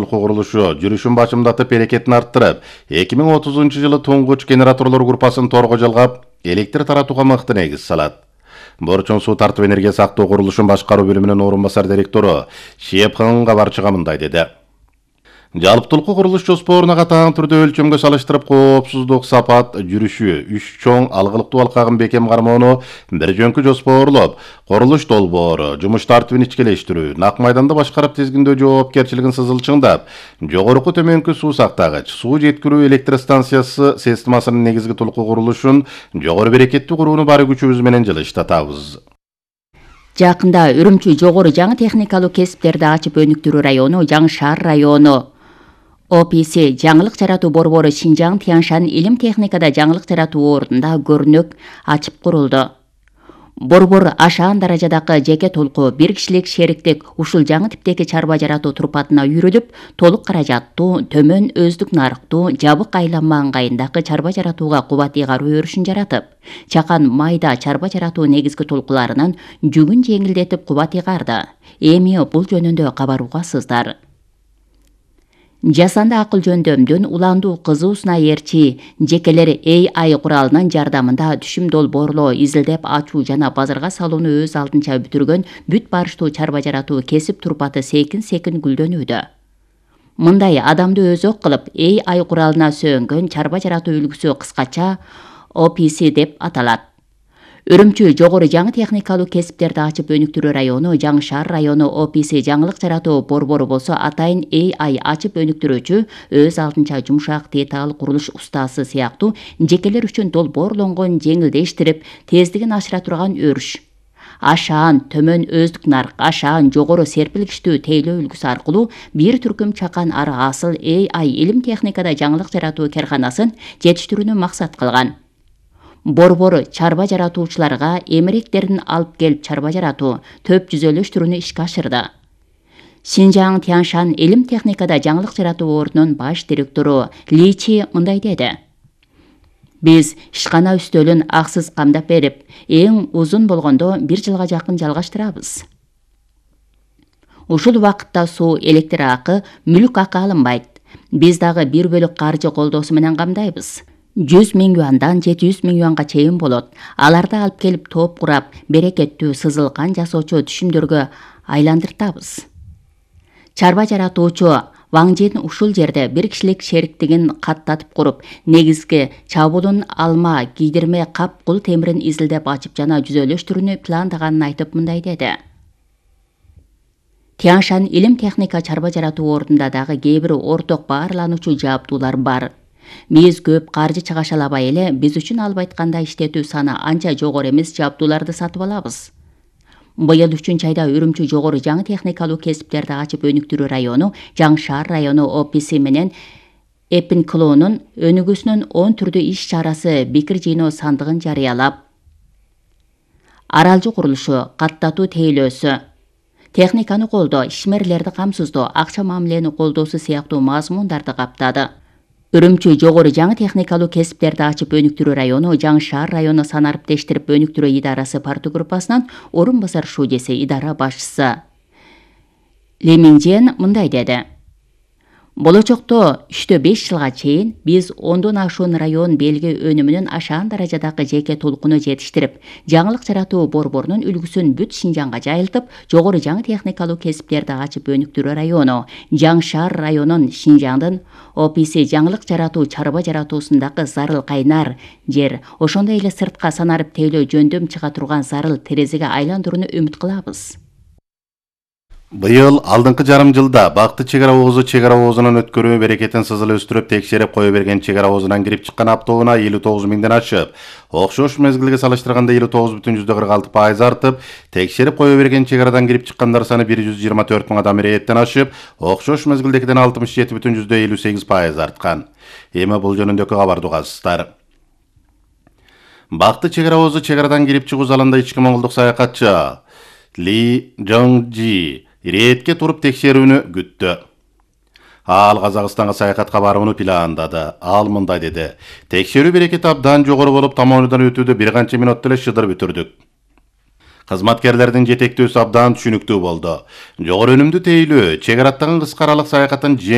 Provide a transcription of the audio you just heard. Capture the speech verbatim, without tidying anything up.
толку курулушу жүрүшүн башымдатып берекетин арттырып, эки миң отузунчу жылы туңгуч генераторлор группасын торго жалгап, электр таратууга мыкты негиз салат. Борчон суу тартып энергия сактоо курулушун башкаруу бөлүмүнүн орун басар директору Шепхан кабарчыга мындай деди. Жалптылкы курулуш жоспоруна катаан түрдө өлчөмгө салыштырып коопсуздук, сапат, жүрүшү, үч чоң алгылыктуу алкагын бекем кармоону бир жөнкү жоспорлоп, курулуш долбоору, жумуш тартибин ичкелештирүү, нак майданда башкарып тизгиндөө жоопкерчилигин сызылчыңдап, жогорку төмөнкү суу сактагыч, суу жеткирүү электр станциясы системасынын негизги толку курулушун жогору берекеттүү курууну баары күчүбүз менен жылыштатабыз. Жакында Үрүмчү жогору жаңы техникалык кесиптерди ачып өнүктүрүү району, Жаңы шаар району О П С жаңылык жаратуу борбору Шинжаң Тяньшан илим техникада жаңылык жаратуу ордунда көрнөк ачып курулду. Борбор ашаан даражадагы жеке толку бир кишилик шериктик ушул жаңы типтеги чарба жаратуу турпатына үйрөлүп, толук каражаттуу, төмөн өздүк нарыктуу, жабык айланма ыңгайындагы чарба жаратууга кубат ыйгаруу өрүшүн жаратып, чакан майда чарба жаратуу негизги толкуларынан жүгүн жеңилдетип кубат ыйгарды. Эми бул жөнүндө кабаруугасыздар. Жасанды акыл жөндөмдүн уландуу кызуусуна ээрчи жекелер А I куралынын жардамында түшүм долбоорлоо, изилдеп ачуу жана базарга салууну өз алдынча бүтүргөн бүт барыштуу чарба жаратуу кесип турпаты секин-секин гүлдөнүүдө. Мындай адамды өзөк кылып А I куралына сөөнгөн чарба жаратуу үлгүсү кыскача О П С деп аталат. Үрүмчү жогору жаңы техникалык кесиптерди ачып өнүктүрүү району, Жаңы шаар району О П С жаңылык жаратуу борбору болсо атайын А I ачып өнүктүрүүчү, өз алдынча жумшак деталь курулуш устасы сыяктуу жекелер үчүн долбоорлонгон, жеңилдештирип, тездигин ашыра турган өрүш. Ашаан төмөн өздүк нарк, ашаан жогору серпилгичтүү тейлөө үлгүсү аркылуу бир түркүм чакан ары асыл А I илим техникада жаңылык жаратуу керканасын жетиштирүүнү максат кылган. Борбор чарба жаратуучуларга эмеректерин алып келип чарба жаратуу, төп жүзөлөштүрүүнү ишке ашырды. Шинжаң Тяньшан илим техникада жаңылык жаратуу ордунун баш директору Ли Чи мындай деди. Биз ишкана үстөлүн аксыз камдап берип, эң узун болгондо бир жылга жакын жалгаштырабыз. Ушул убакытта суу, электр акы, мүлк акы алынбайт. Биз дагы бир бөлүк каржы колдоосу менен камдайбыз. жүз миң юандан жети жүз миң юанга чейин болот. Аларды алып келип топ курап, берекеттүү сызылган жасоочу түшүмдөргө айландыртабыз. Чарба жаратуучу Ваң Жин ушул жерде бир кишилик шериктигин каттатып куруп, негизги чабуулун алма, кийдирме, кап, кул темирин изилдеп ачып жана жүзөлөштүрүүнү пландаганын айтып мындай деди. Тяньшан илим техника чарба жаратуу ордунда дагы кээ бир орток баарлануучу жабдуулар бар. Биз көп каржы чыгаша албай эле, биз үчүн алып айтканда иштетүү саны анча жогору эмес жабдууларды сатып алабыз. Быйыл үчүнчү айда Үрүмчү жогору жаңы техникалык кесиптерди ачып өнүктүрүү району, Жаңы шаар району О П С менен Эпинклоонун өнүгүүсүнүн он түрдүү иш чарасы пикир жыйноо сандыгын жарыялап, аралжы курулушу, каттатуу тейлөөсү, техниканы колдоо, ишмерлерди камсыздоо, акча мамилени колдоосу сыяктуу мазмундарды каптады. Үрүмчү жогору жаңы техникалык кесиптерди ачып өнүктүрүү району, Жаңы шаар району санариптештирип өнүктүрүү идарасы парту группасынан орун басар шуудеси, идара башчысы Ли Минжен мындай деди. Болочокто үчтө беш жылга чейин биз ондон ашуун район белги өнүмүнүн ашаан даражадагы жеке толкуну жетиштирип, жаңылык жаратуу борборунун үлгүсүн бүт Шинжаңга жайылтып, жогору жаңы техникалык кесиптерди ачып өнүктүрүү району, Жаңы шаар районун Шинжаңдын О П С жаңылык жаратуу чарба жаратуусундагы зарыл кайнар жер, ошондой эле сыртка санарып тейлөө жөндөм чыга турган зарыл терезеге айландырууну үмүт кылабыз. Быйыл алдыңкы жарым жылда Бакты чек ара оозу чек ара оозунун өткөрүү берекетин сызыл өстүрүп текшерип кое берген чек ара оозунан кирип чыккан аптоуна элүү тогуз миңден ашып, окшош мезгилге салыштырганда элүү тогуз бүтүн жүздө кырк алты пайыз артып, текшерип кое берген чек арадан кирип чыккандар саны бир жүз жыйырма төрт миң адам ирээттен ашып, окшош мезгилдекиден алтымыш жети бүтүн жүздө элүү сегиз пайыз арткан. Эми бул жөнүндөгү кабарды угасыздар. Бакты чек ара оозу чек арадан кирип чыгуу залында ички моңголдук саякатчы Ли Жоңжи иретке туруп текшерүүнү күттү. Ал Казакстанга саякатка барууну пландады. Ал мындай деди. Текшерүү берекети абдан жогору болуп, тамонудан өтүүдө бир канча мүнөттө эле шыдыр бүтүрдүк. Кызматкерлердин жетектөөсү абдан түшүнүктүү болду. Жогору өнүмдүү тейлөө, чек араттагы кыска аралык саякаттын